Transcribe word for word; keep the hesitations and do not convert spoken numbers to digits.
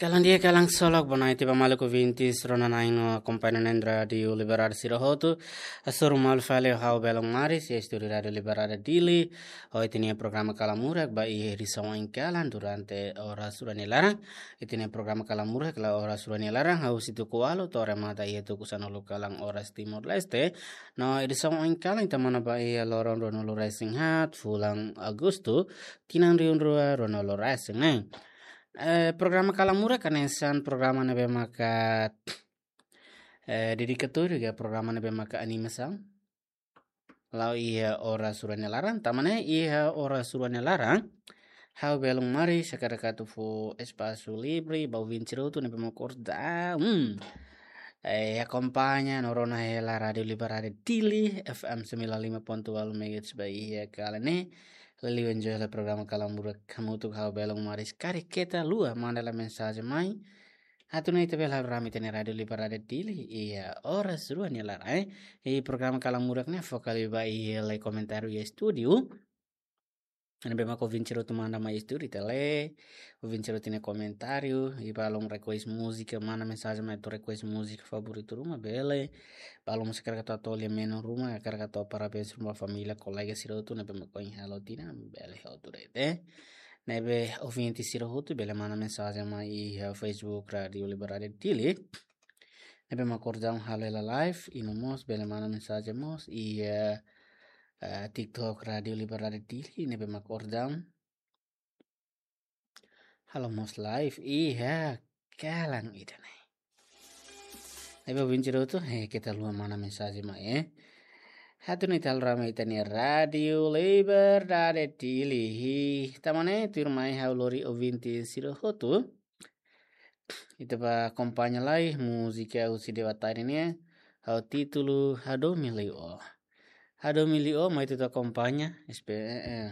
Kalan di'ak, kalan solok, boa noite ba maluk ouvintes rona-na'in no akompaña na'in Rádiu Liberdade sira hotu. Hasoru malu fali ho ha'u Belun Maris, iha estúdiu Rádiu Liberdade Dili. Ho ita-nia programa Kalan Murak ba iha edisaun oin kalan durante oras rua nia laran. Ita-nia programa Kalan Murak la'o oras rua nia laran, hahú husi tuku ualu to'o remata iha tuku sanulu kalan oras Timor-Leste. No edisaun oin kalan ita manán ba iha loron ruanulu-resin-haat fulan Agostu, tinan rihun rua ruanulu-resin-neen. Eh, programa Kalan Murak hanesan programa ne'ebé maka, eh, dedikatóriu ka programa ne'ebé maka animasaun. La'o iha oras rua nia laran, tanba ne'e iha oras rua nia laran, ha'u Belun Maris hakarak atu fó espasu livre ba ouvinte sira hotu ne'ebé mak orsida, hmm, eh, akompaña no rona hela Rádiu Liberdade Dili, F M sembilan lima ponto ualu megahertz ba iha kalan ne'e. Liuliu enjoy hela programa Kalan Murak hamutuk ho ha'u Belun Maris. Karik keta haluha manda lai mensajen mai atu nune'e ita bele halo rame ita-nia Rádiu Liberdade Dili iha oras rua nia laran, eh. Iha programa Kalan Murak ne'e foka liu ba iha lai komentáriu iha estúdiu. Ne'ebé mak ouvinte sira hotu manda mai estúdiu ita lee. Ouvinte sira hotu nia komentáriu, i ba halo request múzika, manda mensajen mai atu request múzika favoritu ruma bele. Ba halo múzika hakarak atu hato'o lia menu ruma, hakarak atu parabéns ruma família, kolega sira hotu ne'ebé mak ohin halo tinan, bele hotu de'it, eh. Ne'ebé ouvinte sira hotu bele manda mensajen mai iha Facebook Rádiu Liberdade Dili. Ne'ebé mak orsida halo hela live, i no mós bele manda mensajen mós iha, eh, TikTok Rádiu Liberdade Dili, ne'ebé mak orsida halo mós live iha kalan ida-ne'e. Ne'ebé ouvinte sira hotu, eh, keta haluha manda mensajen mai, eh. Atu nune'e ita halo rame ita-nia Rádiu Liberdade Dili. Tanba ne'e tuirmai ha'u lori ouvinte sira hotu, ita bá akompaña lai múzika husi Dewa Tari nian, ho títulu Hadomi Liu Ó. Hadomi Liu Ó, mai ita atu akompaña, espe-, eh, eh,